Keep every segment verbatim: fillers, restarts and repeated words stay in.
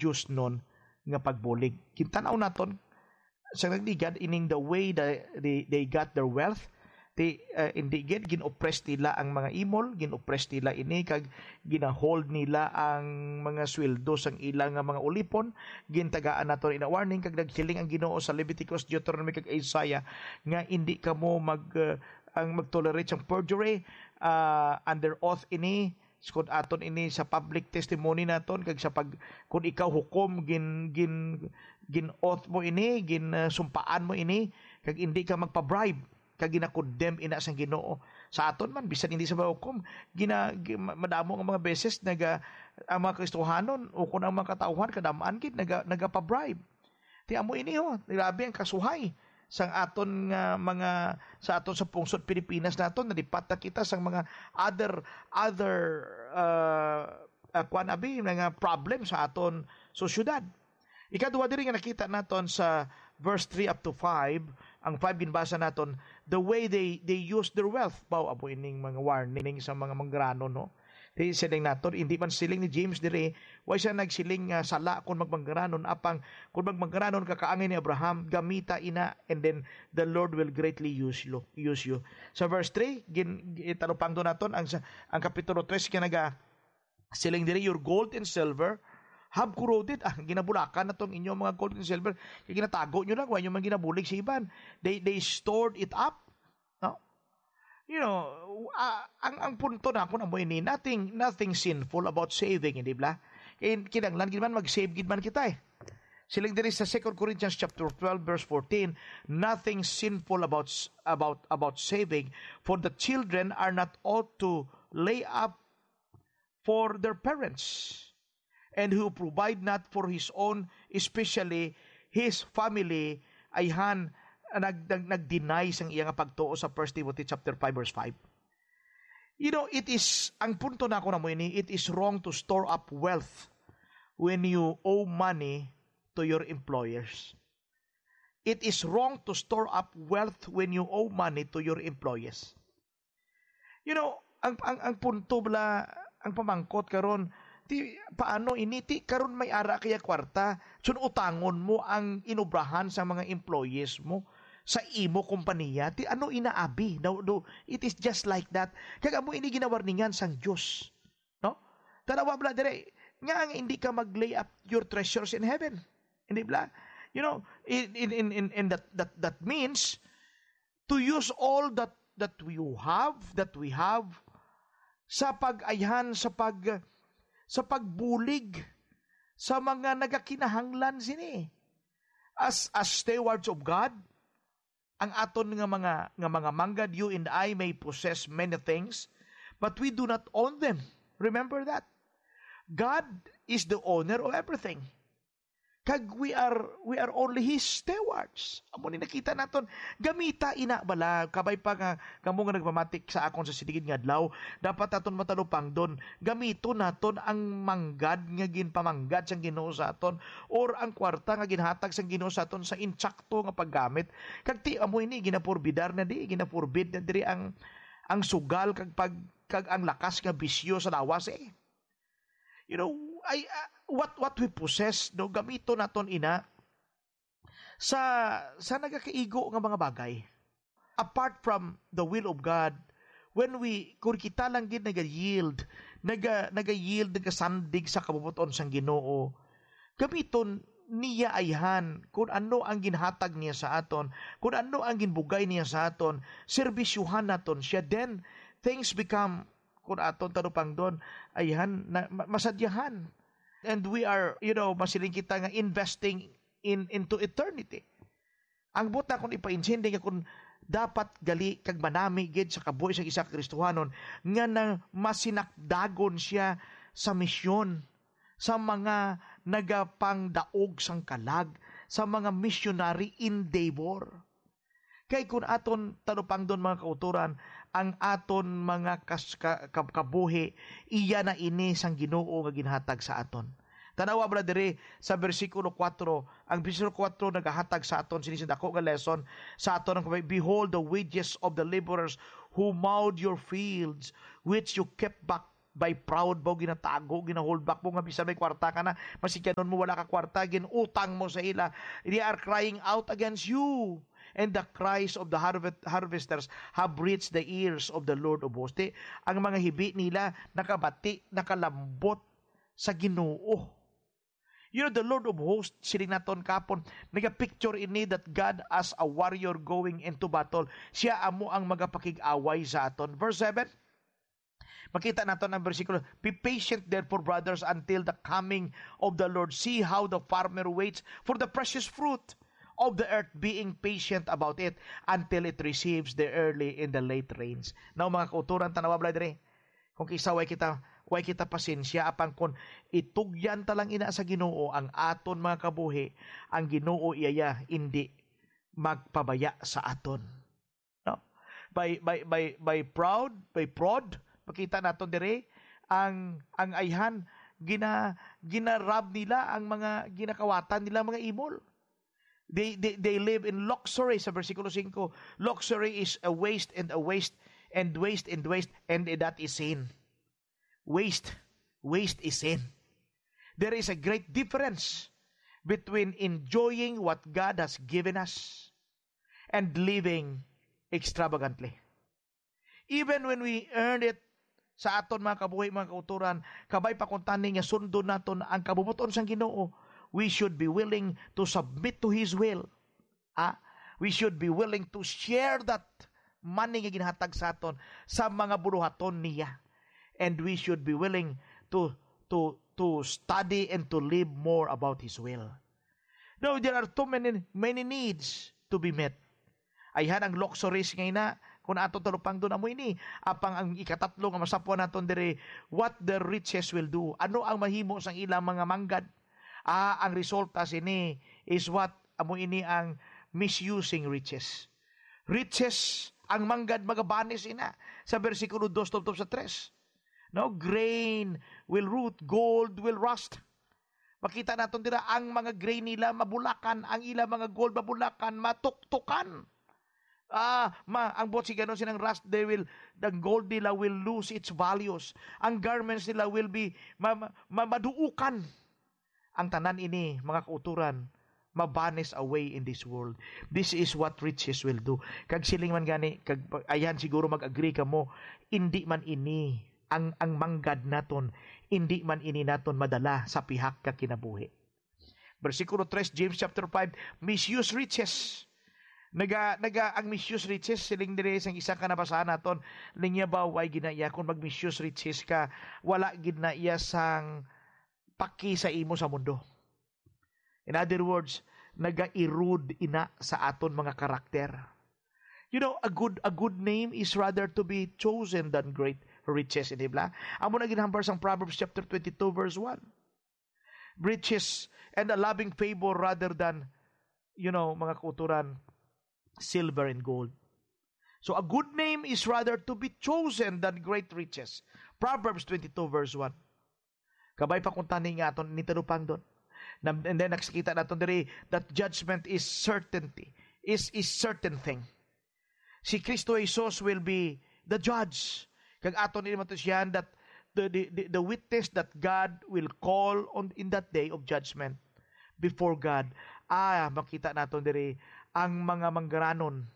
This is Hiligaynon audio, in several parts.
diosnon nga pagbulig. Kintan-aw naton sa nagligad ining the way that they, they got their wealth. Ti, uh, hindi gid gin-oppress nila ang mga imol, gin-oppress nila ini kag ginahold nila ang mga sweldo sang ila nga mga ulipon. Gintagaan nato ina warning kag nagsiling ang Ginoo sa Leviticus, Deuteronomy kag Isaiah nga hindi kamo mag uh, ang mag-tolerate sang perjury, uh, under oath ini, kung aton ini sa public testimony naton kag sa pag kung ikaw hukom gin gin gin-oath mo ini, gin uh, sumpaan mo ini kag hindi ka magpa-bribe kag gina-condemn ina sang Ginoo. Sa aton man bisan hindi sa mahukom, gina gi- ma- madamo nga mga beses naga ang mga Kristohanon o kung ang mga katawhan kadamaan gid naga nagapa-bribe. Ti amo ini ho, grabe ang kasuhay sang aton nga mga sa aton sa pungsod Pilipinas naton nalipat na kita sang mga other other uh, uh, kwan abi nga problem sa aton sosyedad. Ikadua diri nga nakita naton sa verse three up to five, ang five ginbasa naton, the way they they use their wealth. Baw amo ining mga warning sa mga manggaranon, no? Di siling naton, hindi man siling ni James diri, way siya nagsiling nga sala kung magmanggaranon, apang kung magmanggaranon ka kaangay ni Abraham, gamita ina, and then the Lord will greatly use you. Use you. Sa verse three, gin, italupangdo naton ang sa- ang kapitulo three nga naga siling diri, your gold and silver have corroded. Ah, ginabulakan na tong inyong mga gold and silver. Kaya ginatago nyo lang, wala nyo man ginabulig sa iban. They, they stored it up. No? You know, ah, ang, ang punto na ako na mo ini, nothing, nothing sinful about saving, hindi ba? Kin kinanglan gid man mag-save gid man kita eh. Siling diri sa Second Corinthians chapter twelve verse fourteen, nothing sinful about s- about about saving, for the children are not ought to lay up for their parents, and who provide not for his own, especially his family, ayhan nag, nag nag-deny sang iya nga pagtuo sa First Timothy chapter five verse five. You know, it is ang punto na ako na mo ini, it is wrong to store up wealth when you owe money to your employers. It is wrong to store up wealth when you owe money to your employees. You know, ang ang ang punto bala, ang pamangkot karon, ti paano ini ti karon may ara kaya kwarta, sun utangon mo ang inobrahan sa mga employees mo sa imo kompanya, ti ano inaabi? No, no, it is just like that. Kag amo ini ginawarningan sang Dios. No? Tanawa bala dire, nga ang hindi ka mag-lay up your treasures in heaven. Hindi bala? You know, in in in in, in that that that means to use all that that you have, that we have, sa pag-ayhan, sa pag sa pagbulig sa mga nagakinahanglan sini. As as stewards of God, ang aton nga mga nga mga manggad, you and I may possess many things, but we do not own them. Remember that. God is the owner of everything. Kag we are we are only his stewards. Amo ni nakita naton, gamita ina bala, kabay pa nga kamo nga nagpamatik sa akon sa siligid nga adlaw, dapat naton matalupangdon, gamiton naton ang manggad nga ginpamanggad sang Ginoo sa aton, or ang kwarta nga ginhatag sang Ginoo sa aton sa insakto nga paggamit. Kag ti amo ini ginapurbidar na di, ginapurbid na diri ang ang sugal kag pag kag ang lakas nga bisyo sa lawas eh. You know, I, uh, what what we possess, no, gamito naton ina sa sa nagakaigo nga mga bagay. Apart from the will of God, when we kung kita lang gid naga-yield, naga naga-yield, nagasandig sa kabubuton sang Ginoo, gamiton niya ayhan kung ano ang ginhatag niya sa aton, kung ano ang ginbugay niya sa aton, serbisyuhan naton siya, then things become kung aton talupangdon, ayhan na, ma- masadyahan. And we are, you know, masiling kita nga investing in into eternity. Ang buot nakon ipaintindi nga kung dapat gali kag manami gid sa kabuhi sa isa ka Kristohanon nga nang masinakdagon siya sa misyon sa mga nagapangdaog sang kalag, sa mga missionary endeavor. Kay kun aton talupangdon, mga kautoran, ang aton mga kas- ka- kab- kabuhi, iya na ini sang Ginoo nga ginhatag sa aton. Tanawa bala diri sa bersikulo kuwatro, ang bersikulo kuwatro nagahatag sa aton sini sa dako nga lesson sa aton ang, "Behold the wages of the laborers who mowed your fields, which you kept back By proud mo, ginatago, ginahold back mo nga bisan may kwarta ka na, masigkanon mo wala ka kwarta, ginutang mo sa ila. They are crying out against you. And the cries of the harvest, harvesters have reached the ears of the Lord of hosts. Di, ang mga hibi nila nakabati, nakalambot sa Ginoo. You know, the Lord of hosts, siling naton kapon, nagapicture ini that God as a warrior going into battle. Siya amo ang magapakig-away sa aton. Verse seven, makita naton ang bersikulo, "Be patient, therefore, brothers, until the coming of the Lord. See how the farmer waits for the precious fruit of the earth, being patient about it until it receives the early and the late rains." Now, mga kauturan, tanawa, bala diri. Kung kisa way kita, way kita pasensya, apang kung itugyan ta lang ina sa Ginoo ang aton mga kabuhi, ang Ginoo iya indi magpabaya sa aton. No? By, by, by, by proud, by prod, makita naton diri ang, ang ayhan, gina, ginarab nila ang mga ginakawatan nila mga imol. They, they, they live in luxury sa bersikulo singko. Luxury is a waste and a waste and waste and waste, and that is sin. Waste. Waste is sin. There is a great difference between enjoying what God has given us and living extravagantly. Even when we earn it sa aton mga kabuhi, mga kauturan, kabay pa kung tani nga sundon naton ang kabubuton sang Ginoo, we should be willing to submit to His will. Ah, we should be willing to share that money nga ginahatag sa aton sa mga buruhaton niya. And we should be willing to, to, to study and to live more about His will. Now, there are too many, many needs to be met. Ayhan ang luxuries nga ina, kung ato talupangdon amo ini. Apang ang ikatatlo nga masapwan naton diri, what the riches will do. Ano ang mahimo sang ilang mga manggad? Ah, ang resulta sini is what? Amo ini ang misusing riches. Riches, ang manggad magabanis ina sa bersikulo dos tubtob sa tres. No, grain will rot, gold will rust. Makita naton dira ang mga grain nila mabulakan, ang ila mga gold mabulakan, matuktukan. Ah, ma, ang buot si ganon sinang rust, they will, the gold nila will lose its values. Ang garments nila will be ma, ma, ma, maduukan. Ang tanan ini, mga kauturan, ma-vanish away in this world. This is what riches will do. Kag siling man gani, kag ayan siguro mag-agree kamo, indi man ini ang, ang manggad naton, indi man ini naton madala sa pihak ka kinabuhi. Bersikulo tres, James chapter five, misuse riches. Naga, naga, ang misuse riches, siling diri sang isa ka nabasahan naton, linya ba, way ginaiya kung mag-misuse riches ka, wala ginaiya sang paki sa imo sa mundo. In other words, naga-erode ina sa aton mga karakter. You know, a good, a good name is rather to be chosen than great riches in Ibla. Amo na ginhambal sang Proverbs chapter twenty-two, verse one. Riches and a loving favor rather than, you know, mga kauturan, silver and gold. So a good name is rather to be chosen than great riches. Proverbs twenty-two, verse one. Kabay pa kung tani nga aton nitalupangdon. Na, and then nakikita naton diri that judgment is certainty, is, is certain thing. Si Kristo Jesus will be the judge. Kag aton ini matusihan that the, the, the, the witness that God will call on in that day of judgment before God. Ah, makita naton diri ang mga manggaranon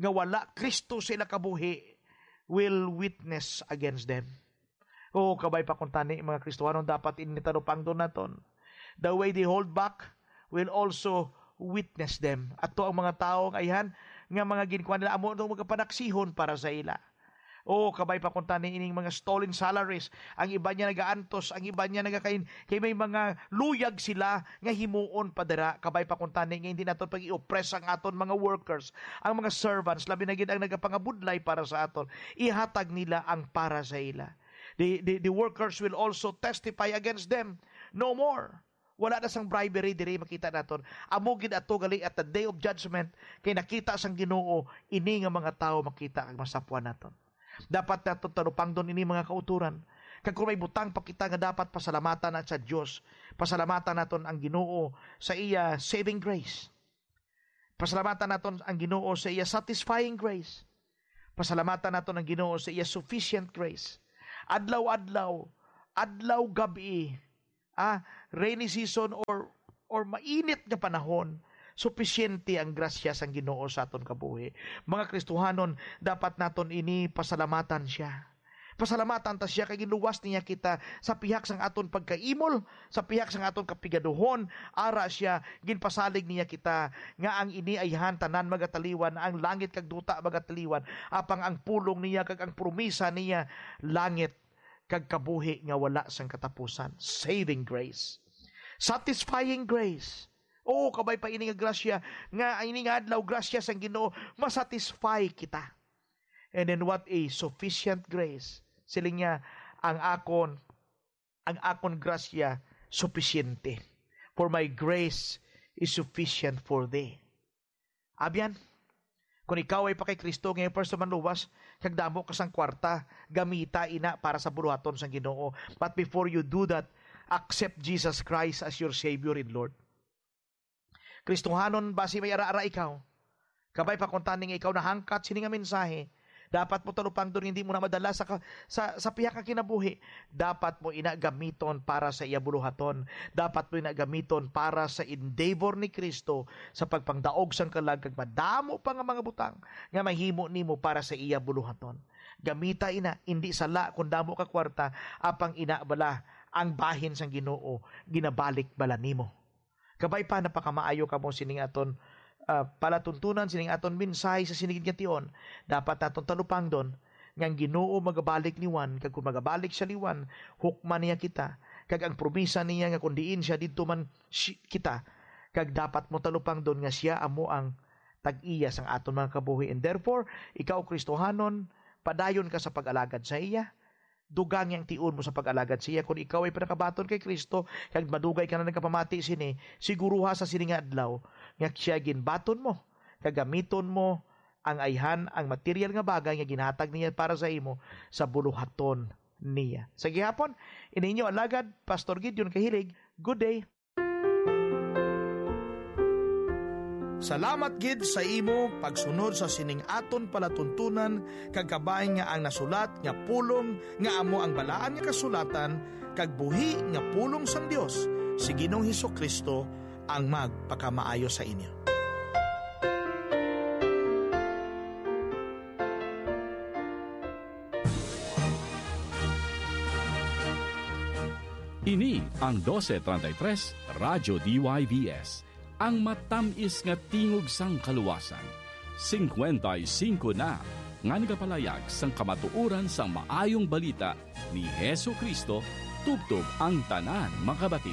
nga wala Kristo sa ila kabuhi will witness against them. Oh, kabay pa kung tani, mga Kristohanon, dapat ini talupangdon naton. The way they hold back will also witness them. Ato ang mga tawo nga ayhan nga mga ginkuan nila, amo ang magapanaksihon para sa ila. Oh, kabay pa kung tani ining mga stolen salaries. Ang iba niya nagaantos, ang iba niya nagakain. Kay may mga luyag sila nga himuon pa dira. Kabay pa kung tani nga hindi naton pag-i-oppress ang aton mga workers, ang mga servants, labi na gid ang nagapangabudlay para sa aton. Ihatag nila ang para sa ila. The, the, the workers will also testify against them. No more. Wala na sang bribery diri, makita naton. Amo gid ato gali at the day of judgment, kay nakita sang Ginoo ini nga mga tawo makita kag masapwan naton. Dapat naton talupangdon ini, mga kauturan. Kag kung may butang pa kita nga dapat pasalamatan na sa Dios, pasalamatan naton ang Ginoo sa iya saving grace. Pasalamatan naton ang Ginoo sa iya satisfying grace. Pasalamatan naton ang Ginoo sa iya sufficient grace. Adlaw-adlaw, adlaw, gab-i, ah, rainy season or, or mainit nga panahon, supisyente ang grasya sang Ginoo sa aton kabuhi. Mga Kristohanon, dapat naton ini pasalamatan siya. Pasalamatan ta siya kay ginluwas niya kita sa pihak sang aton pagkaimol, sa pihak sang aton kapigaduhon. Ara siya, ginpasalig niya kita nga ang ini ayhan tanan magataliwan, ang langit kag duta magataliwan, apang ang pulong niya kag ang promisa niya langit kag kabuhi nga wala sang katapusan. Saving grace. Satisfying grace. Oo, kabay pa ini nga grasya, nga ini nga adlaw, grasya sang Ginoo, masatisfy kita. And then what a sufficient grace. Siling niya, ang akon, ang akon grasya sufisyente. For my grace is sufficient for thee. Abyan, kung ikaw ay pa kay Kristo, nga first man luwas, kag damo ka sang kwarta, gamita ina para sa buluhaton sang Ginoo. But before you do that, accept Jesus Christ as your Savior and Lord. Kristohanon, basi may ara-ara ikaw. Kabay pa kuntani nga ikaw nahangkat sini nga mensahe, dapat mo talupangdon nga hindi mo na madala sa ka-, sa, sa pihak nga kinabuhi. Dapat mo ina gamiton para sa iya buluhaton. Dapat mo ina gamiton para sa endeavor ni Kristo sa pagpangdaog sang kalag kag madamo pa nga mga butang nga mahimo nimo para sa iya buluhaton. Gamita ina, hindi sala kung damo ka kwarta, apang ina bala ang bahin sang Ginoo ginabalik bala nimo. Kabay pa, napakamaayo kamo sining aton, ah, palatuntunan, sining aton mensahe sa sinigid nga tion. Dapat naton talupangdon nga ang Ginoo magabalik liwan, kag kung magabalik siya liwan, hukman niya kita. Kag ang promisa niya nga kung diin siya, didto man si-, kita. Kag dapat mo talupangdon nga siya amo ang tag-iya sang aton mga kabuhi. And therefore, ikaw Kristohanon, padayon ka sa pag-alagad sa iya. Dugang yang tion mo sa pag-alagad sa iya. Kung ikaw ay pinakabaton kay Kristo, kag madugay ka na nagapamati sini, siguruha sa sini nga adlaw nga siya ginbaton mo, kag gamiton mo ang ayhan, ang material nga bagay nga ginhatag niya para sa imo sa buluhaton niya. Sa gihapon, ini inyo alagad, Pastor Gideon Kahilig. Good day. Salamat gid sa imo pagsunod sa sining aton palatuntunan, kag kabay nga ang nasulat nga pulong nga amo ang Balaan nga Kasulatan kag buhi nga pulong sang Dios, si Ginoong Hesus-Kristo ang magpakamaayo sa inyo. Ini ang doce treinta y tres Radyo D Y V S, ang matamis nga tingog sang kaluwasan. Singkwenta y singko na nga nagapalayag sang kamatuoran sang Maayong Balita ni Jesu-Cristo tubtob ang tanan makabati.